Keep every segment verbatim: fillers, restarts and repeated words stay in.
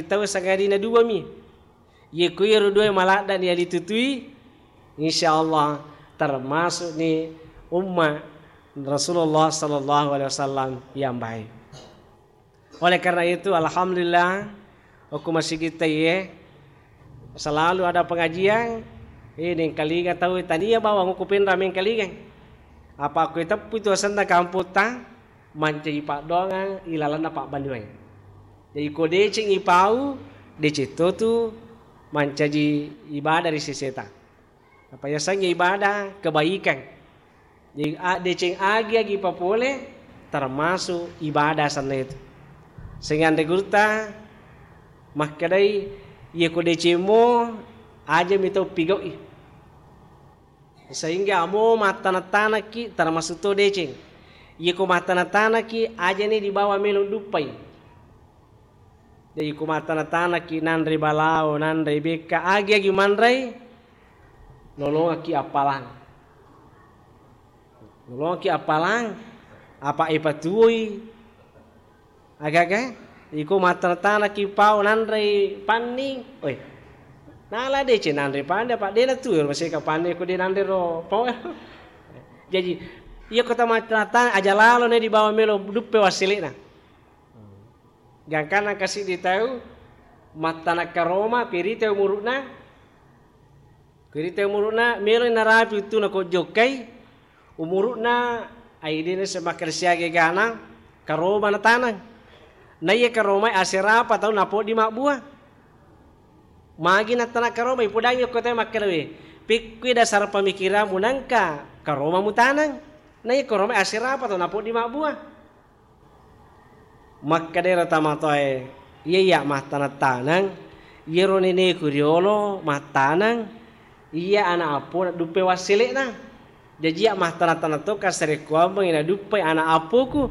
tau sangadinna dua mi. Yeko iyaro dua maladda ni yalitutui, insyaallah termasuk ni umma Rasulullah sallallahu alaihi wasallam yang baik. Oleh karena itu, alhamdulillah, okko masigitta iye selalu ada pengajian, eh, nengkalinga tau tania bawang okko penra mengkalinga. Apa ko teppu itu asenna kamputta, mancaji paddoangang ilalanna pabbanuae. Jadi ko deceng ipau, deceng totu mancaji ibadah ri seseta. Apa yasengnge ibadah kebaikan. Jadi, a-, deceng agi-agi papole termasuk ibadah sanna itu. Sehingga anre gurutta makkedai, iya ko deceng mo aja mi tau pigau'i. Sehingga amo mattana-tanaki termasuk to deceng. Iya ko mattana-tanaki aja ni dibawa melo duppai. Jadi, ko mattana-tanaki nanre balao, nanre bekka, agi-agi manrei, lolongaki appalang. Lolongaki appalang, apa ipatuoi, aga-aga, iko mattana-tanaki pao nanrei panni, oi, nala deceng nanre panni, apa dena tu, maseka panni, ko de nanre ro pao. Jadi, iya ko ta mattana-tana, aja lalo ne dibawa melo duppe wasselena. Gangkanna engka siddi tau mattana karoma, ko irita umuru'na, ko irita umuru'na, melo narapi wettuna ko jokkai, umuru'na, ai de nasseng makkeda siaga egana, karoma nataneng. Naiya karomae aserapa tau napoddi mabbua. Magi nattana karoma, ipodangi okko tau makkeda, we, pekkui dasar pemikiranmu nangka karoma mutaneng. Naiya karomae aserapa tau napoddi mabbua. Makkedaro tamatoae, iya, iya mattaneng-taneng, iyaro neneku riolo mattaneng, iya ana' appona duppe wassele'na. Jaji iya mattaneng-taneng to kasarekkuammengngi naduppai ana' appoku.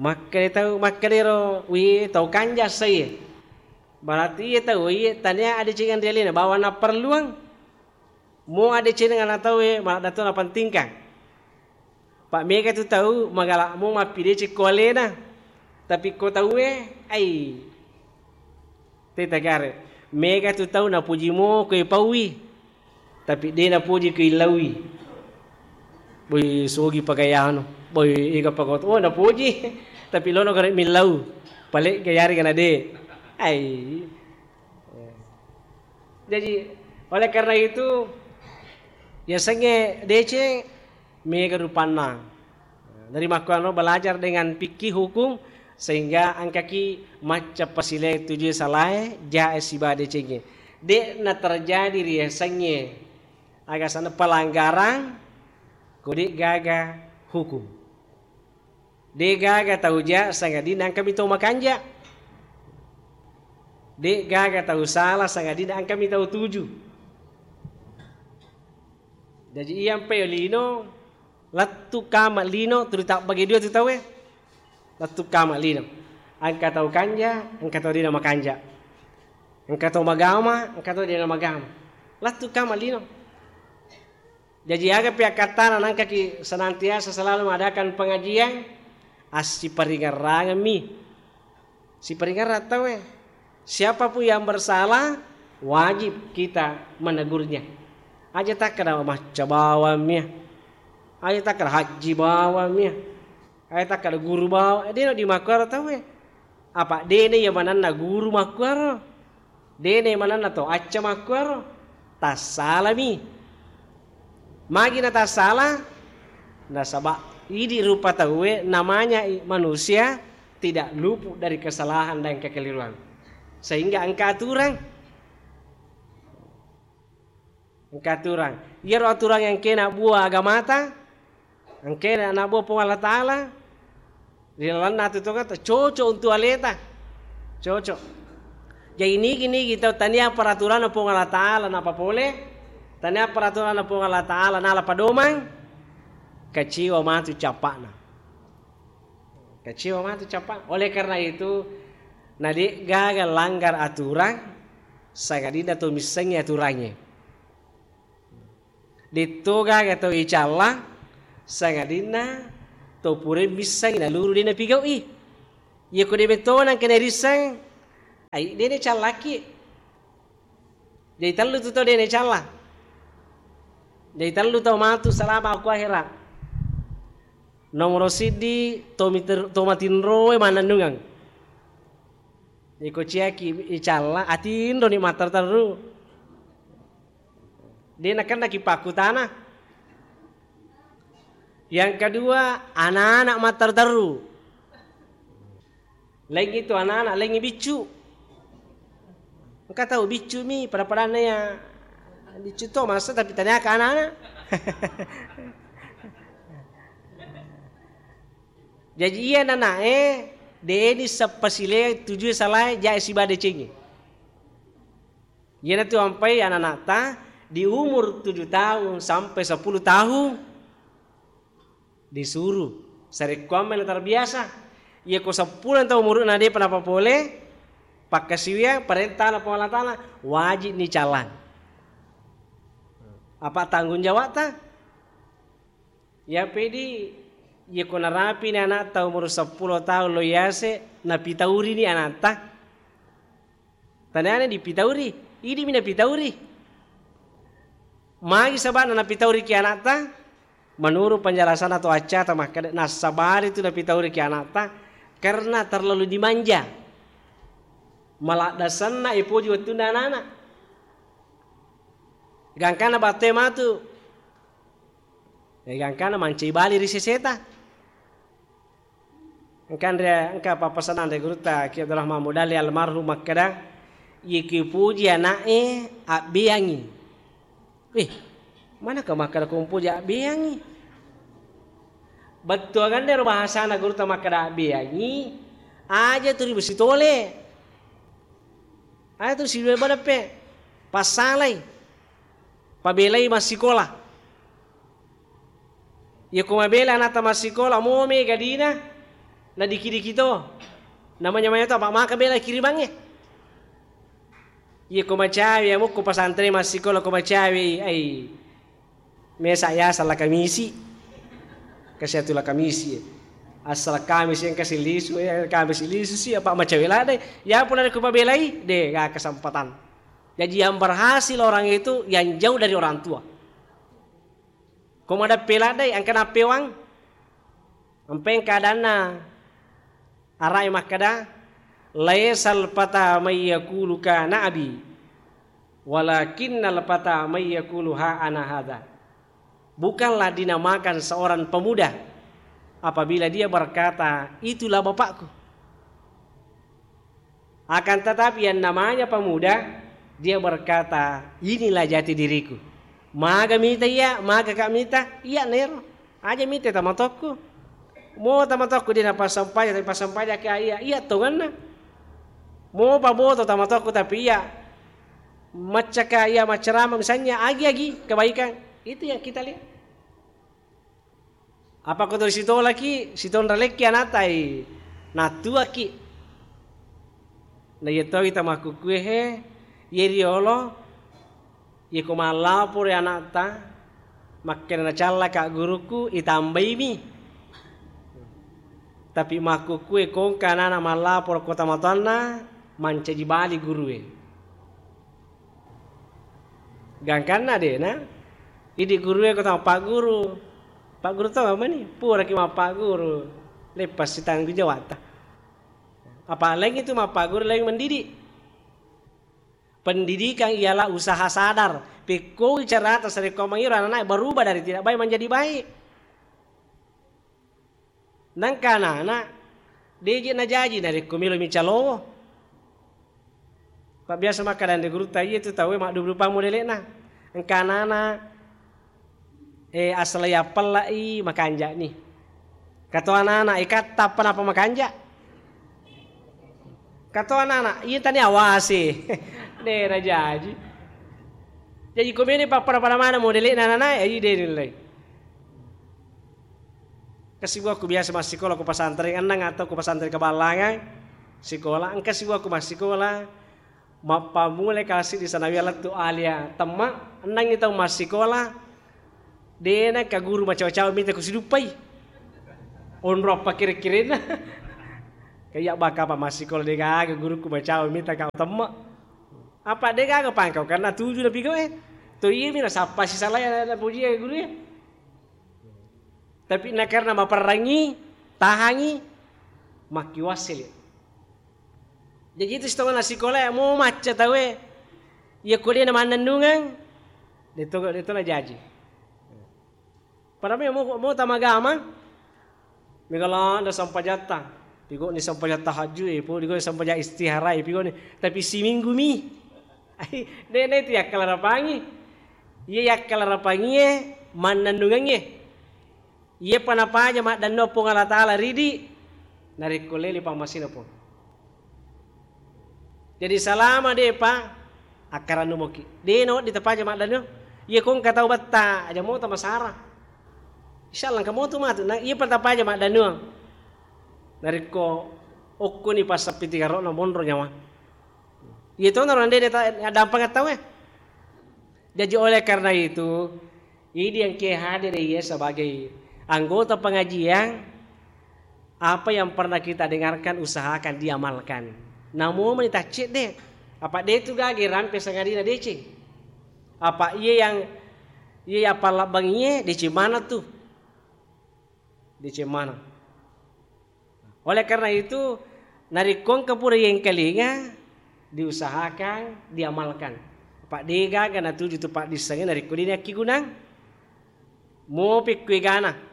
Makkeda tau, makkedaro, wi, tau kanja sai. Berarti iya tau iya tania adecengan ri alena, bawang napparelluang. Mo adeceneng ana tauwe, maladda to napentingkang. Pa mega tu tau magala mo mappideceng ko alena. Tapi ko tauwe, ai, te tagare. Mega tu tau napuji mo ko ipaui. Tapi de napuji ko illaui. Boi, sogi pagayano. Boi, ega pagoto. Oh, napuji. Tapi lono gare millau. Pale gayari kana de. Ai. Jaji, oleh karena itu, yasengnge deceng mega rupanna. Dari makkuano belajar dengan fikih hukum, sehingga engkaki macca pasileng tujue salae, jae siba decengnge. De'na terjadi ri yasengnge aga sana pelanggaran, ko de gaga hukum. De gaga tau ja sangadinna engkami tau makanja. De gaga tau sala sangadinna engkami tau tuju. Jaji iyampe lino, lettu kama lino, tuli tabbage dua tu tauwe. Lettu kama lino. Engka tau kanja, engka tau dena makanja. Engka tau magama, engka tau dena magama. Lettu kama lino. Jaji, aga pi akkattana nangkaki senantiasa selalu mengadakan pengajian, assiparingerrangemmi. Siparingerrang tauwe. Siapapun yang bersalah, wajib kita menegurnya. Aja takkeda macca bawammi. Aja takkeda hajji bawammi. Aja takkeda guru bawang. Dena dimakkuaro tauwe. Apa dena iya manenna guru makkuaro. Dena manenna to acca makkuaro, tassalami. Magi natassala? Nasaba idi rupa tauwe, namanya i-, manusia tidak luput dari kesalahan dan kekeliruan. Sehingga engka aturang. Engka aturang. Iyaro aturang yang kena buah agamata, engkena nabbo Puang Allah Ta'ala, ri lalenna atu tongetta, cocok untuk aleta. Cocok. Jadi nigi-nigi tau tania peraturanna Puang Allah Ta'ala napapole, tania peraturanna Puang Allah Ta'ala nala padomang, kecewa matu cappa'na. Kecewa matu cappa'na. Oleh karena itu, na de gaga langgar aturang, sangadinna to missengngi aturangnge. Detto gaga tau icalla, sangadinna to pura missengngi naluru de napigau'i. Iyako de metto nangka narisseng, Ai, de' nacallaki. Jadi tellu tu tau de' nacalla. Jadi tellu tau matu salama ku ahera. Nomoro siddi, to miter-, to matinroe mannennungeng. Iko ciaki icalla, atinroni matterru-terru. De' nakennaki pakkutana. Yang kedua, anak-anak matterru-terru. Laingngi tu anak-anak, laingngi biccu. Engka tau biccu mi, pada-padanna ya biccu to masa, tapi taniaka anak-anak. Jaji iya nanae, de' ni seppa sile tujue salae, jae siba decengi. Iyanatu ampai anak-anakta di umur tujuh tahun sampai sepuluh tahun disuru sarekkuammenna terbiasa. Iya ko seppulo tahun umurna de'pa napapole, pakkasiwiang parentana Puang Allah Taala, wajib ni callang. Apa tanggung jawabta? Ya pedi, iya ko narapini anakta umur seppulo tahun lo yase, napitaurini anakta. Taniana dipitauri, idi'mi napitauri. Magi saba'na napitauriki anakta? Menurut penjelasanna to accata makkeda, nassabari tu napitauriki anakta karena terlalu dimanja. Maladdasanna ipoji wettunna anak-anak. Gangkanna batte matu. Eh, gangkanna mancai bali ri seseta. Engka anre, engka pappasanang ri gurutta Ki Abdurrahman Mudalli almarhum makkeda, "Iya ki upoji ana'e abbeangngi." Wih, manaka makkeda ko upoji abbeangngi? Bettuanganna ero bahasana gurutta makkeda abbeangngi, aja tu ri besi tole. Aja tu sidue badeppe. Passalai. Pabelai massikola. Iya ko mabela anakta massikola, mo mega dina, nadiki-diki to. Namanya-manya to, apa maka bela kirimangnge. Iya ko macawe, iya mukko pasantre massikola ko macawe, ai. Mesa ya asal kamisi. Kasi atu la kamisi. Asal kamisi engka silisu, ya kamisi lisu si, apa macawe ladai. Ya pula ko pabelai, de, gak kesempatan. Jadi yang berhasil orang itu yang jauh dari orang tua. Ko madeppe ladde, engka nappewang. Empeng keadaanna arai makkeda, "Laisal fata may yaqulu kana abi, walakinnal fata may yaqulu ha ana hadza." Bukanlah dinamakan seorang pemuda apabila dia berkata, "Itulah bapakku." Akan tetapi yang namanya pemuda, dia berkata, "Inilah jati diriku." Maga mita iya, maga ka mita, iya nero. Aja mita tamatokku. Mo tamatokku dia napassampaja, tapi passampaja ka iya, iya tongenna. Mo paboto tamatokku, tapi iya maccaka iya maccarama, misalnya agi-agi kebaikan. Itu yang kita lihat. Apa ko to sitolaki, sitonralekki anatai, nattuaki. Na iya towi tamakkukkué he, iya riolo, iya ko mallaporo anakta, makkeda nacallaka gurukku, itambaimi. Tapi makkukkué kongka anana mallaporo ko tomatoanna, mancaji bali gurué. Gangkanna dena, idi gurué ko tau mappaguru. Pagguru to mani, puraki mappaguru. Leppassi tanggung jawabta. Apa laing itu mappaguru, laing mendidik. Pendidikan ialah usaha sadar. Pekkoi carata sarekko mangiro anak-anak berubah dari tidak baik menjadi baik. Nangka anana, deje najaji narekko melo micalowo. Pabbiasa makkeda anre gurutta, iya tu tauwe maddupa-dupa modele'na. Engka anana, eh, asala yappella'i makanja'ni. Kato anana, eh, katta apa napa makanja'? Kato anana, iya tani awasi. De najaji. Jaji ko meni pappada-pada maneng modele'na anana, eh, de nilai. Engka sibuakku biasa massikola ko pasantreng enneng atau ko pasantreng Kaballangang sikola. Engka sibuakku massikola, mappammulai kelas siddi sanawiyah lettu alia temma, ennengngi tau massikola, dena ka guru macawa-cawa mita kusiduppai. Onro appakkire-kirenna. Kaya baka apa massikola de' gaga guruku macawa mita kau temme'. Apa de' gaga pangkau karena tuju na pigo e. To iye mi nasappa sisala ya na puji ya guru ya. Tapi na karena maperrangi, tahangi, makkiwassili. Jadi itu setengah nasikola ya mau macca tawe. Iya ko de' na mannennungeng, de' to, de' to na jaji. Pada me mo, mo tamagama, mega landa sampajatta. Pigoni sampajatta tahajju e, pigoni sampajatta istihara e, pigoni. Tapi siminggu mi. Ai, de' na itu yakkalarapangi. Iya yakkalarapangi e, mannennungengnge. Iya pa napaja maddanno Puang Allah Taala ridi, narekko lele pammasina Puang. Jadi salama de'pa akkarannu moki. De' nawedding tapaja maddannuang. Iya ko engka tau betta, aja moto masara. Insyaallah engka moto matu. Na iya pa tapaja maddannuang. Narekko okkoni passappi tigaro'na monro nyawa. Iya to naro ande de' ta-, dampang tau e. Jadi oleh karena itu, idi engke hadir iya sebagai anggota pengajian, apa yang pernah kita dengarkan usahakan diamalkan. Namo meni taccedde, apa de' tu gaga rampe sangadina deceng. Apa iya yang, iya yang pallabbang iye deceng mana tu. Deceng mana. Oleh karena itu, narekko engka pura yengkalinga, diusahakan, diamalkan. Apa de' gaga natuju tu paddissengnge narekko de' nakkigunang. Mopi kuegana.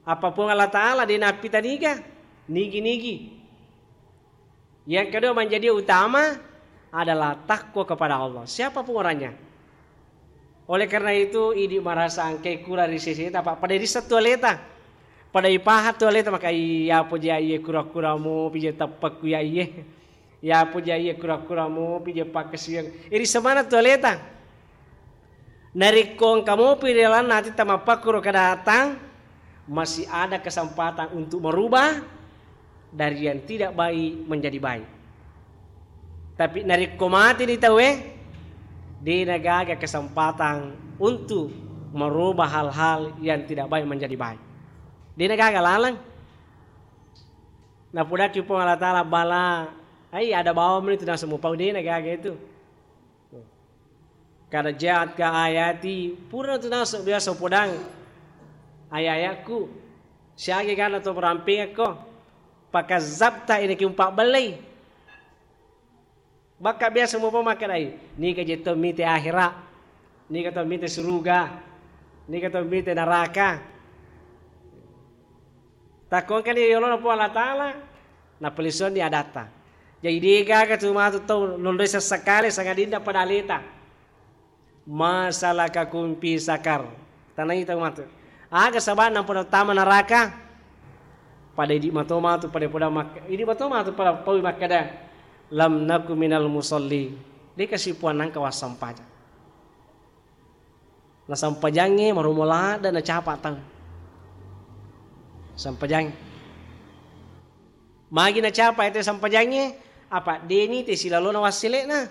Apa Puang Allah Taala de' nappita niga, nigi-nigi. Yang kedua menjadi utama adalah takwa kepada Allah. Siapapun orangnya. Oleh karena itu, idi marasa engkai kurang ri seseta, apa pada risseng tu aleta. Pada ipaha tu aleta, maka iya poja iye kura-kura mopi je teppekku ya iye. Iya poja iye kura-kura mopi je pakkasiwiang. Iri semana tu aleta. Narekko engka mopi ri lalenna atitta mappakkuro kedaatang, masih ada kesempatan untuk merubah dari yang tidak baik menjadi baik. Tapi narekko mateni tauwe, de' nagaga kesempatan untuk merubah hal-hal yang tidak baik menjadi baik. De' nagaga laleng. Napodaki Puang Allah Taala bala, ai ada bawang meni tu naseng mupau, de' nagaga itu. Kada ja'atka ayati, pura tu naseng biasa podang aya-ayakku. Siaga gana to merampingekko. Pakazzabta, ini ki umpabbellei. Bakka biasa mupa makkedai, niga je to mite akhera, niga to mite suruga, niga to mite naraka. Takko engkani yolona Puang Allah Taala, napellisuanni adatta. Jadi de' gaga tu matu tau nonroi sessekale sangadinna pada aleta. Ma salakakum fi sakar. Tanai tau matu. Aga saba'na pada tama naraka? Pada idi mato matu pada, pada mak-, idi mato matu pada paui makkeda, lam naku minal musalli. De' kasi Puang nangka wassampaja. Nasampajangnge maromo ladde' nacapa tau. Sampajangnge. Magi nacapa ete sampajangnge, apa de' nite silalona wassele'na.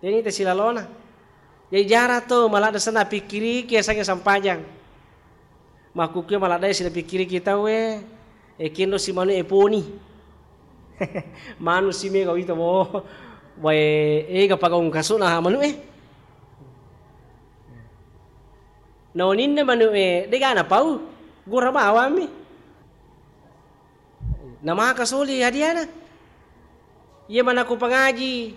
De' nite silalona. Jadi jara to maladde' senna pikkiriki yasengnge sampajang. Makkukue maladde' sila pikkiriki tauwe, e kenro si manu e poni. Manu si mega wita bo. Wae ega pagaung kasuna manu e. Naoninna manu e, de' gana pau. Gura bawammi. Namaka soli hadiana. Iya manakku pangaji.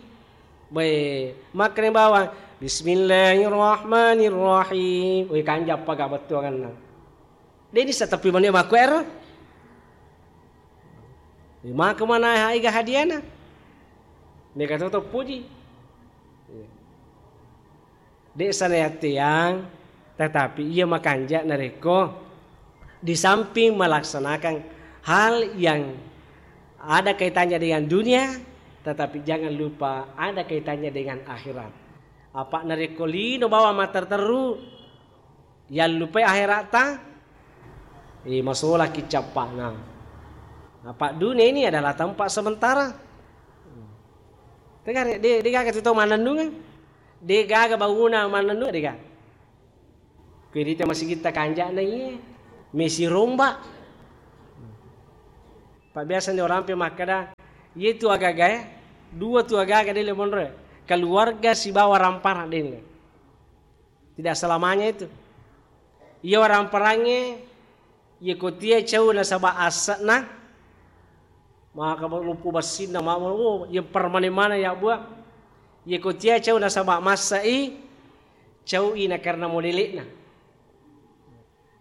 Bae, makkani bawang, bismillahirrahmanirrahim. Woi, kanjappa ga bettuanganna. De' nisseng teppi mani makku ero. Maka mana haiga hadiana. Mega to teppuji. De' sana yatteang, tetapi iya makanja narekko di samping melaksanakan hal yang ada kaitannya dengan dunia, tetapi jangan lupa ada kaitannya dengan akhirat. Apa narekko lino bawang matterru-terru, yallupai akheratta, eh, masolaki cappa'na. Apa dunia ini adalah tempat sementara. Tegare, de', de' gaga tu tau mannennungeng. De' gaga bangunang mannennungeng, de' gaga. Kuirita masigitta kanja'na iye, mesi romba. Pak biasa ni orang pe makkeda, iye tu agaga e, dua tu agaga dele monro e. Keluarga sibawa ramparang dele. Tidak selamanya itu. Iya waramparangnge, iya kotia cau nasaba asse'na, maka luppu bessinna, ma-, oh, iya permanen-manen ya buah. Iya kotia cau nasaba masse'i, cau i na karena modele'na.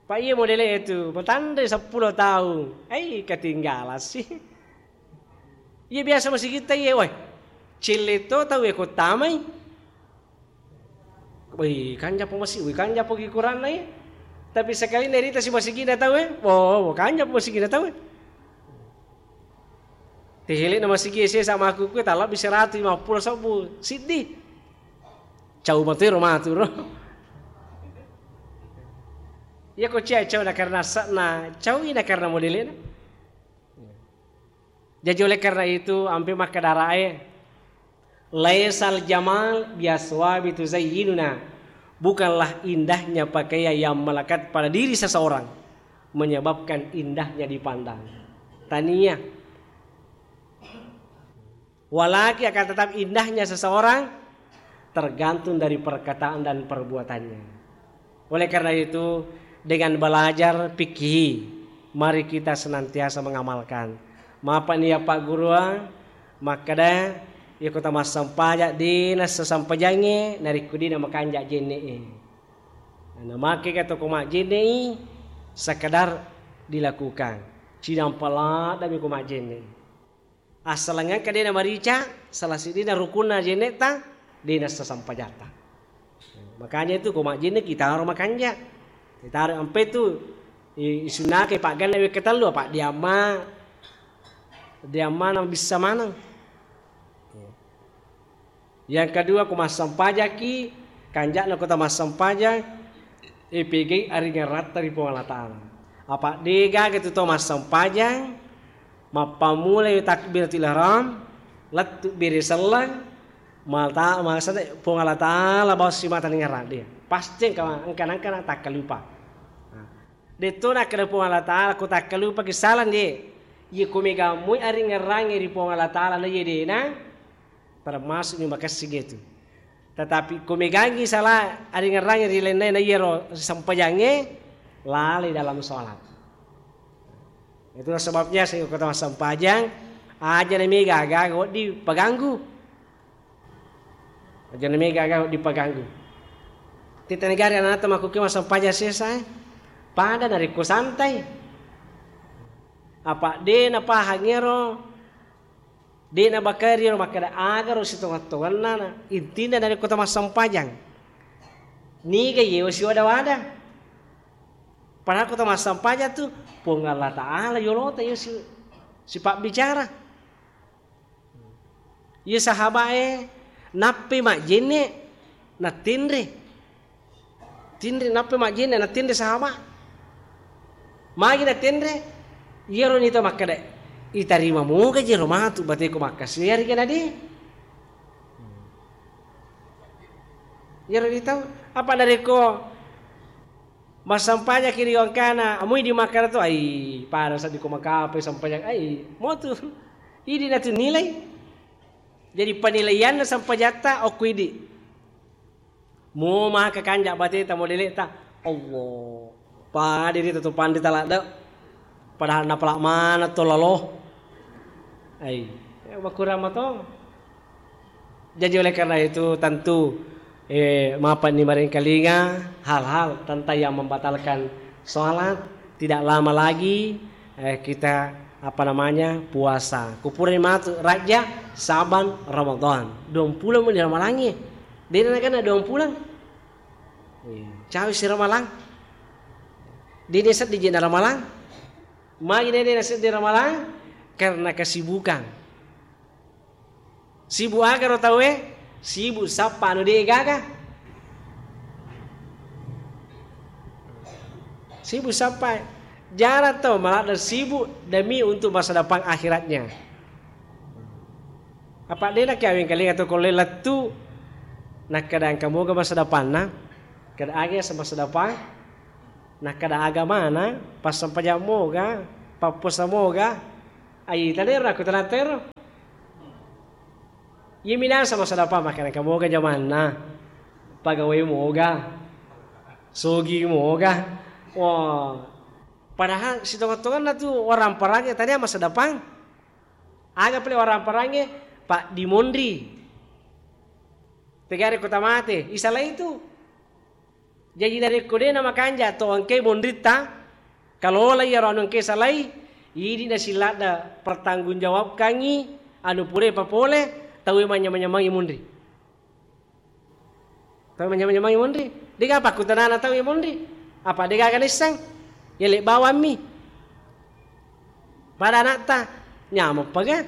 Pak iya modele itu, matanre seppulo taung. Ai, ketinggalan sih. Iya biasa masigitta iya, woi. Celle to tau e ko tamai. Woi, kanjappo masi-, woi, kanjappo ki kuranna iya. Tapi sekali nerita si masigina tau e, wo, wo, kanjappo masigina tau e. Tehele na masigi sesa makuku talabbi seratu lima puluh sebbu siddi. Cau matero maturo. Iya ko cia cau na karena asse'na, cau i na karena modelena. Jadi oleh karena itu, ampe makkeda rae, "Laisal jamal biaswabi tuzayyinuna." Bukanlah indahnya pakaian yang melekat pada diri seseorang menyebabkan indahnya dipandang. Tania. Walaki akan tetap indahnya seseorang tergantung dari perkataan dan perbuatannya. Oleh karena itu, dengan belajar fikih, mari kita senantiasa mengamalkan. Mapa ni ya Pak Guru, ah? Makkeda, iya kota massempajang, dena sesempajangnge, narekko dena makanja jenne'e. Nah, make ka toko majjenne'i, sekedar dilakukan. Cidampa laddami ko majjenne'i. Assaleng engka dena marica, salah siddina rukunna jenne'ta, dena sesempajatta. Makanya itu ko majjenne kitaro makanja. Kitaro ampe tu i-, isunnakai pagganna wekka tellu, apa diamma, diamma na bisa maneng. Yang kedua, ko massempajaki, kanja'na kota massempajang, eh, pegai aringeratta ri Puang Allah Ta'ala. Apa de gaga tu to massempajang, mappammulai takbiratul ihram, lettu bere selleng, mata-, maksudnya Puang Allah Ta'ala bawa simata ningerang dia. Pasti engka, engka, engka takkalupa. Nah, detto nakkeda Puang Allah Ta'ala, ko takkalupaki salang de. Iya ko mega mui aringerangi ri Puang Allah Ta'ala na iya dena, termasuk mi makessing itu. Tetapi ko megangi sala aringerangi ri lainna na iyaro sempajangnge, lalai dalam sholat. Itulah sebabnya sehingga kota massempajang, aja na mega aga-aga wedding paganggu. Aja na mega aga wedding paganggu. Tita negara anata makuke massempajang sesa, eh. Pada narekko santai. Apa de napahang ero De' nabakari ro makkeda, agaro sitongeng-tongenna na, intinna narekko tamassempajang, niga yewa siwada-wada. Padahal ko tamassempajang tu, Puang Allah Ta'ala yolota yewa si-, sipabbicara. Iye sahaba'e nappai majjenne, nattenre. Tinri nappa majjenne, nattenre sahaba. Magi nattenre? Iyaro nita makkeda, itarima moga jero matu bateko makkasi, iyariga nade. Iyaro nita, apa narekko massempajaki ri wangkana, amui di makkana tu, ai, pada seddi ko makape sempajang, ai, motu. Idi natu nilai. Jadi penilaianna sempajatta okko idi. Mo maka kanja bateta modele'ta, Allah. Padiri tu panrita ladde. Padahal napala mana to lalo. Ai, ya, makurang matong. Jadi oleh karena itu tentu, eh, mapa ni maringkalinga hal-hal tentang yang membatalkan sholat. Tidak lama lagi, eh, kita, apa namanya, puasa. Kupura matu Rajab, Syaban, Ramadan. Duang pulang meni Ramalangnge. Dena nakana duang pulang. Iya. Cawi si Ramalang. Dena seddi jena Ramalang. Magi dena seddi Ramalang? Karena kesibukan. Sibuk aga ro tauwe? Sibuk sappa anu de' gaga. Sibuk sappa. Jarang tau maladde' sibuk demi untuk masa depan akhiratnya. Apa de' na kiaweng kalinga to ko le lettu, nakkeda engka moga masa depanna, kada aga masa depan, nakkeda agamana, passempajang moga, pappuasa moga, Ai, tadi ro aku tenang tero. Iya minasa masa depan, makanya kamu moga jamanna. Pegawai moga. Sogi moga. Wah. Padahal sitonga-tonganna tu orang parange tadi masa depan. Aga pale orang parange, Pak, dimonri. Tegare kota mate, isalai tu. Jaji narekko de' namakanja to engkae monritta, kalola iyaro anu engkae salai, idi nasiladda pertanggungjawabkangngi anu pura papole tauwe manyamang-nyamangi monri. Tauwe manyamang-nyamangi monri. De'ga pakkutanana tauwe monri. Apa de'gaga naisseng? Yelle bawammi. Pada ana'ta, nyameng paga.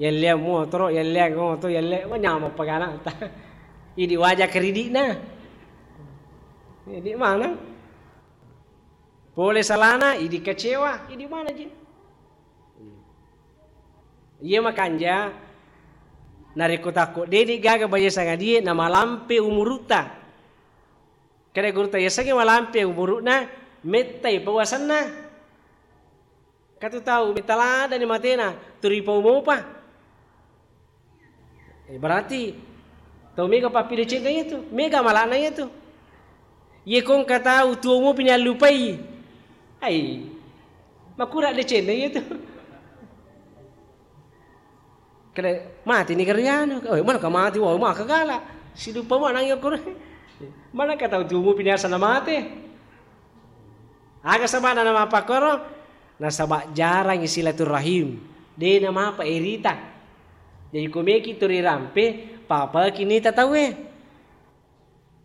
Yelleang motoro, yelleang oto, yelle, wah, nyameng paga ana'ta. Idi waja keridi'na. Idi maneng. Pole salana, idi kecewa, idi mana je. Iya makanja, narekko takko de'ni gaga baja sangadie, namalampe umuru'ta. Kada gurutta yasengnge malampe umuru'na, mettai pawasenna. Katu tau metta ladani matena, turi pau mopa. Eh, berarti tau mega pappidecenna iyatu, mega malana iyatu. Ye kongka tau tuo mopi ni allupai. Ai, makura decenna iyatu. Kale mati ni garianu, oh, mana ka mati, wah, maka gala. Sidupa mana yang kore. Mana ka tau tuo mopi ni asana mate. Aga sabana nama pakoro? Nasaba jarangngi silaturrahim. De namapa erita. Jadi ko meki tu rirampe, papaki nita tauwe.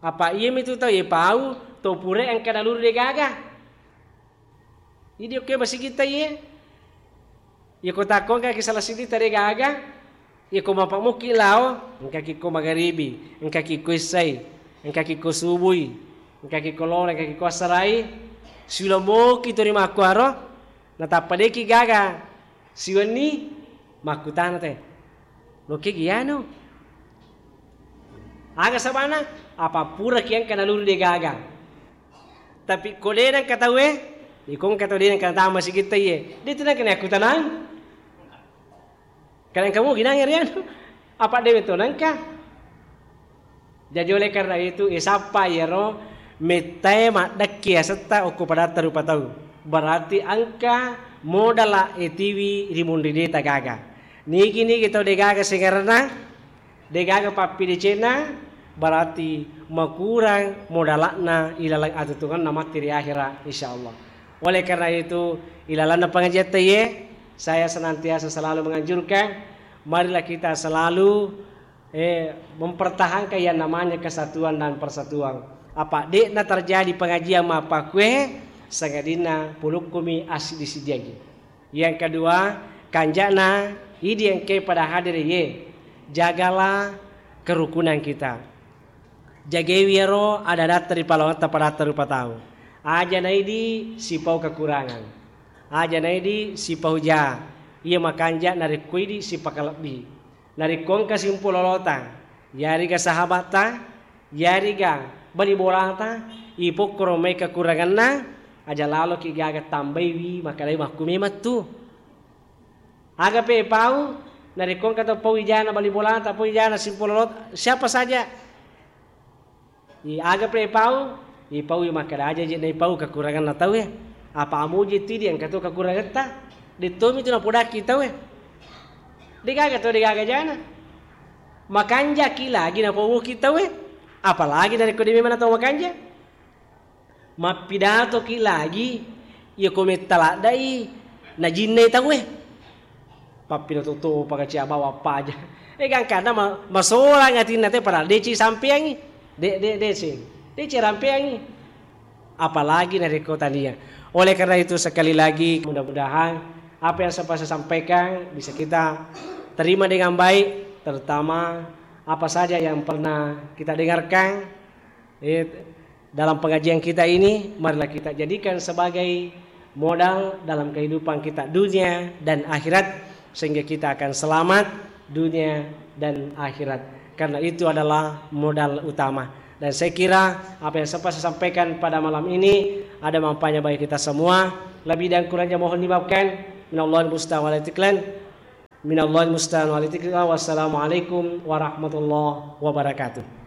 Apa iya mitu tau ye pau, to pura engka naluru de gaga. Idi okke masigitta iye. Iya ko takko engkaki sala siddita de gaga, iya ko mapamukki lao, engkaki ko magaribi, engkaki ko essai, engkaki ko subui, engkaki ko lolo, engkaki ko assarai, siulamoki to rimakkuaro, natappa deki gaga siwenni makkutana te. Lokke giano. Aga sabana, apa puraki engka naluru de gaga. Tapi ko de nengka tauwe, iko engka tau de nengka natama sigitta iye, de tu nengka nakkutanang. Kadang kamu ginang ya rianu. Apa dewe to nengka? Jadi oleh karena itu, isappa iyaro mettae maddekki asetta okko padatta rupa tau. Berarti engka modala etiwi ri munri deta gaga. Nigi-nigi tau de gaga sengerenna, de gaga pappidecenna, berarti makurang modala'na ilaleng atutungenna matti ri akhera, insyaallah. Oleh karena itu, ilalenna pengajian teye, saya senantiasa selalu menganjurkan, marilah kita selalu, eh, mempertahankan yang namanya kesatuan dan persatuan. Apa de'na terjadi pengajian mappakue, sangadinna pulukkumi assiddi-siddiangngi. Yang kedua, kanja'na idi engkae pada hadere ye, jagalah kerukunan kita. Jagewi iyaro ada-adatta ri palawangetta padatta rupa tau. Aja naidi sipau kekurangan. Aja naidi sipau ja. Iya makanja narekko idi sipakalebbi. Narekko engka simpulolota, yarega sahabatta, yarega bali bolata, ipokkoro mai kekuranganna, aja laloki gaga tambaiwi, makkedai makku memang tu. Aga pe pau, narekko engka to pau ijana bali bolata, pau ijana simpulolota, siapa saja. I aga pe pau, ipau i makkeda aja je naipau kekuranganna tauwe. Apa amuji tu idi engka to kekurangetta. De tomi tu napodakki tauwe. De gaga to, de gaga jana. Makanjaki lagi napauki tauwe. Apalagi narekko de memang tau makanja. Mappidatoki lagi, iya ko metta laddai najinnai tauwe. Pappinoto-topa kacia bawa paja. Eh, gangkanna ma-, masolang atinna te, padahal deci sampeangi. De, de, deci. Deci rampeangi. Apalagi narekko tania. Oleh karena itu, sekali lagi, mudah-mudahan apa yang sempat saya sampaikan bisa kita terima dengan baik, terutama apa saja yang pernah kita dengarkan, eh, dalam pengajian kita ini, marilah kita jadikan sebagai modal dalam kehidupan kita dunia dan akhirat, sehingga kita akan selamat dunia dan akhirat. Karena itu adalah modal utama. Dan saya kira apa yang sempat saya sampaikan pada malam ini ada manfaatnya bagi kita semua. Lebih dan kurangnya mohon dimaafkan. Minallahil musta'an wal i'tiklan. Minallahil musta'an wal i'tiklan. Wassalamualaikum warahmatullahi wabarakatuh.